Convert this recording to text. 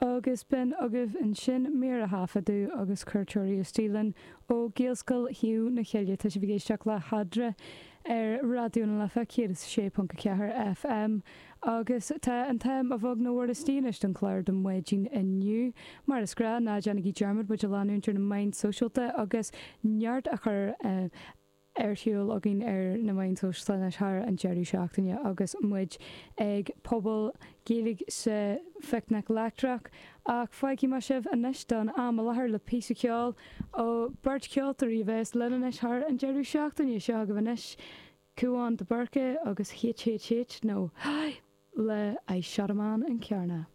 Agus b'in agaibh ansin mír a thaifeadadh agus cuairteoirí istigh linn ó Ghaelscoil Thaobh na Cille. Tá sibh ag éisteacht le hEadra ar Raidió na Life 106.4 FM agus tá an t-am a bheag nó a mhór istigh anois don chlár don mhaidin inniu. Mar is gnáth, ná déanaigí dearmad muid a leanúint ar na meáin sóisialta agus neart a chur ar siúl againn ar na meáin shóisialta anois thar an deireadh seachtaine agus muid ag Puball Gaeilge sa Phicnic Leictreach. Ach fágfaidh mé sibh anois don am i láthair le píosa ceoil ó beirt cheoltóirí a bheas linn anois thar an deireadh seachtaine. Seo agaibh anois Cúán de Búrca agus HHH nó Hi! le I Shot a Man in Carna.